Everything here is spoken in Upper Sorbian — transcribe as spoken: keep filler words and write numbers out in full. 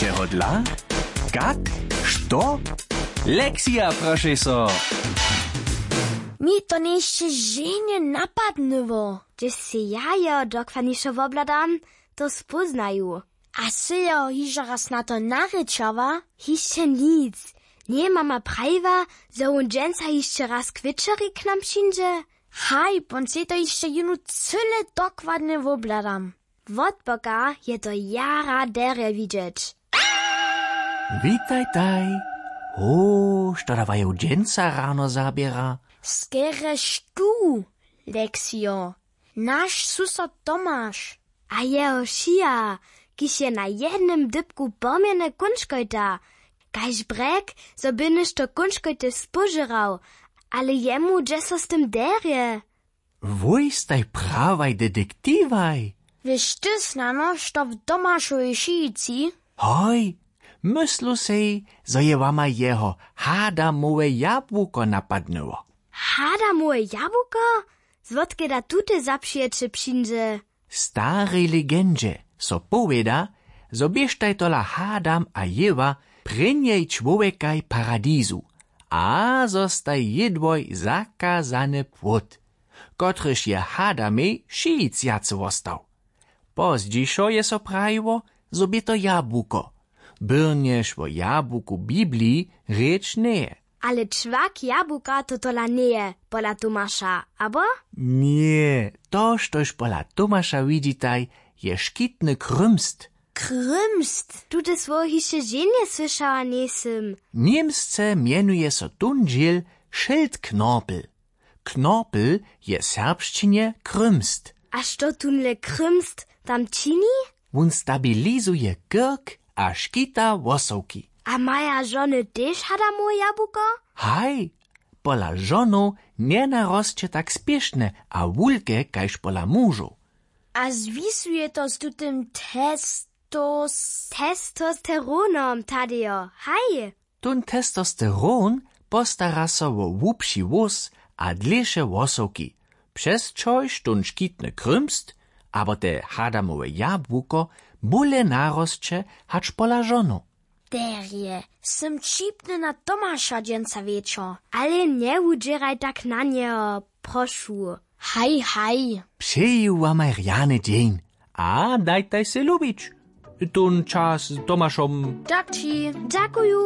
Jeho dla? Kak? Što? Lexija, prošej so. Mi to njejsće ženje napadnyło, hdźež sej ja jeho dokładnišo wobhladam, to spóznaju. A sy jeho hižo raz na to narěčała? Hišće nic. Njeje mama prajiła, zo wón dźensa hišće raz k wječeri k nam přińdźe? Haj, pon sej to hišće jónu cyle dokładnje wobhladam. Wotboka je to jara derje widźeć. Witajtaj. Ho, što da waju dźensa rano zaběra? Skerje štó, Leksijo. Naš susod Tomaš a jeho šija, kiž je na jednym dypku pomjene kónčkojta, kaž brjek, zo by něšto kónčkojty spožěrał. Ale jemu dźe so z tym derje. Wój staj prawaj detektiwaj. Wěš ty snano, što w Tomašowej šijici? Hoj, myslu sej, zo je wama jeho hadamowe jabłuko napadnyło. Hadamowe jabłuko? Zwotke da tute zapřijeće přińdźe? W starej legendźe so powěda, zo běštaj tola Hadam a Jewa prěnjej čłowjekaj paradizu a zo staj jědłoj zakazany płód, kotryž je Hadamej šicjacy wostał. Pozdźišo je so prajiło, zo bě to jabłuko, byrnjež wo jabłuku w Bibliji rěč njeje. Ale čłak jabłuka to tola njeje, pola Tomaša, abo? Ně, to štož pola Tomaša widźitaj, je škitny krymst. Krymst? Tute słowo hišće ženje słyšała njejsym. Němsce mjenuje so tón dźěl Schildknorpel. Knorpel je w serbšćinje krymst. A što tónle krymst tam čini? Wón stabilizuje kirk a škita wosowki. A maja žony tež hadamowe jabłuko? Haj, pola žonow njenarosće tak spěšnje a wulke kaž pola mužow. A zwisuje to z tutym testos- testosteronom, tadejo, haj. Tón testosteron postara so wo hłubši włós a dlěše włosowki, přez čož tón škitny krymst abo te hadamowe jabłuko bóle narosće hač pola žonow. Derje, sym ćipny na Tomaša dźensa wječor. Ale njewudźěraj tak na njeho, prošu. Haj, haj. Přeju wamaj rjany dźeń a dajtaj sej lubić tón čas z Tomašom. Daki. Dźakuju.